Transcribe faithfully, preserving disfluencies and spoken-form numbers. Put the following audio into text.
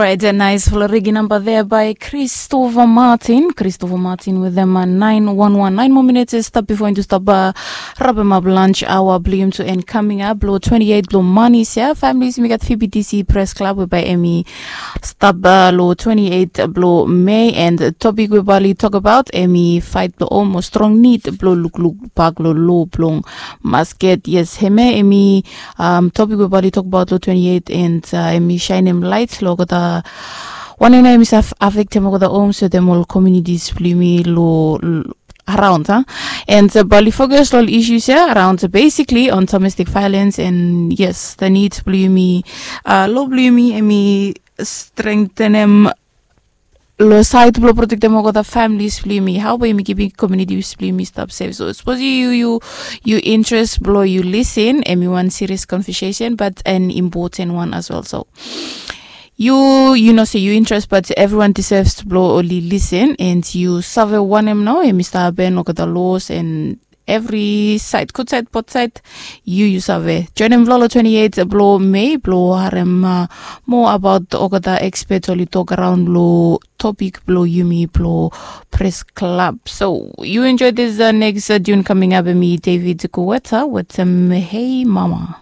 Right, a nice fala regi namba there by Christopher Martin. Christopher Martin with them uh, nine one one. Nine more minutes is stop before into stop uh, rabem up lunch hour blium to end coming up. Blow twenty-eight blow money here. Families we got P B T C Press Club we by Emmy stop uh, low twenty-eight blow May and topic we bali talk about Emmy fight blow almost strong need blow look look back low low blong masket. Yes, heme Emmy um, topic we bali talk about lo twenty-eight and uh, emi shine em light lo kata one na emi sa affect em kata home so dem all communities blimi lo around ha and uh, bali focus lo issues ya around uh, basically on domestic violence and yes the need blimi uh, lo blimi emi strengthen em lo side blo protect em olgeta families blo yumi how blo yumi giving communities blo yumi stap safe so suppose you you you interest blo you listen em i one serious conversation but an important one as well so you you know say you interest but everyone deserves blo only listen and you save wanem now em i stap happen olgeta laws and every side good side both side you you save join em vlolo twenty-eight blo May blo harem uh, more about olgeta expert oli talk around blo topic blo yumi blo press club so you enjoy this uh, next uh, tune coming up me David Kuweta with um, hey mama